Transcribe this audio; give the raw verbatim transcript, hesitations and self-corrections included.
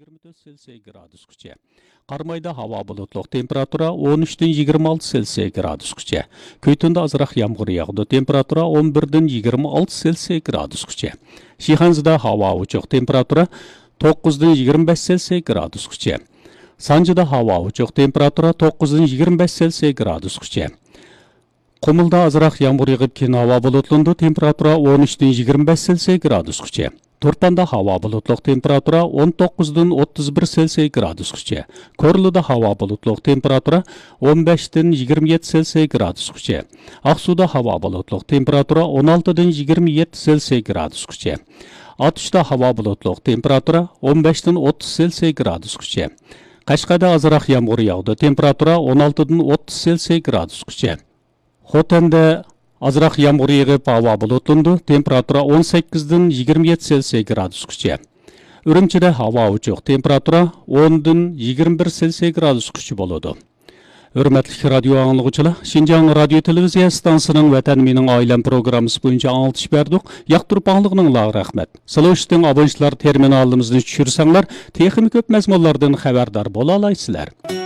يىگىرمە تۆت سېلسىيە گرادۇسقىچە. قارامايدا ھاۋا بۇلۇتلۇق، تېمپېراتۇرا ئون ئۈچتىن يىگىرمە ئالتە سېلسىيە گرادۇسقىچە. كۈيتۇندا ئازراق يامغۇر ياغىدۇ، تېمپېراتۇرا ئون بىردىن يىگىرمە ئالتە سېلسىيە گرادۇسقىچە. شىخەنزىدە ھاۋا ئوچۇق، تېمپېراتۇرا توققۇزدىن يىگىرمە بەش سېلسىيە گرادۇسقىچە. سانجىدا ھاۋا ئوچۇق، تېمپېراتۇرا توققۇزدىن يىگىرمە بەش سېلسىيە گرادۇسقىچە. قۇمۇلدا ئازراق يامغۇر يېغىپ، كېيىن ھاۋا بۇلۇتلىنىدۇ، تېمپېراتۇرا ئون ئۈچتىن يىگىرمە بەش سېلسىيە گرادۇسقىچە. تۇرپاندا ھاۋا بۇلۇتلۇق، تېمپېراتۇرا ئون توققۇزدىن ئوتتۇز بىر سېلسىيە گرادۇسقىچە. كورلىدا ھاۋا بۇلۇتلۇق، تېمپېراتۇرا ئون بەشتىن يىگىرمە يەتتە سېلسىيە گرادۇسقىچە. ئاقسۇدا ھاۋا بۇلۇتلۇق، تېمپېراتۇرا ئون ئالتىدىن يىگىرمە يەتتە سېلسىيە گرادۇسقىچە. ئاتۇشتا ھاۋا بۇلۇتلۇق، تېمپېراتۇرا ئون بەشتىن ئوتتۇز سېلسىيە گرادۇسقىچە. قەشقەردە ئازراق يامغۇر ياغىدۇ، تېمپېراتۇرا ئون ئالتىدىن ئوتتۇز سېلسىيە گرادۇسقىچە. خوتەندە ئازراق يامغۇر يېغىپ، ھاۋا بۇلۇتلىنىدۇ، تېمپېراتۇرا ئون سەككىزدىن يىگىرمە يەتتە سېلسىيە گرادۇسقىچە. ئۈرۈمچىدە ھاۋا ئوچۇق، تېمپېراتۇرا ئوندىن يىگىرمە بىر سېلسىيە گرادۇسقىچە بولىدۇ. ھۆرمەتلىك رادىيو ئاڭلىغۇچىلار، شىنجاڭ رادىيو تېلېۋىزىيە ئىستانسىسىنىڭ ۋەتەن مېنىڭ ئائىلەم پروگراممىسى بويىچە ئاڭلىتىش بەردۇق. ياقتۇرۇپ ئاڭلىغىنىڭلارغا رەھمەت. سلوشىتىڭ ئابونېنتلار تېرمىنالىمىزنى چۈشۈرسەڭلار، تېخىمۇ كۆپ مەزمۇنلاردىن خەۋەردار بولالايسىلەر.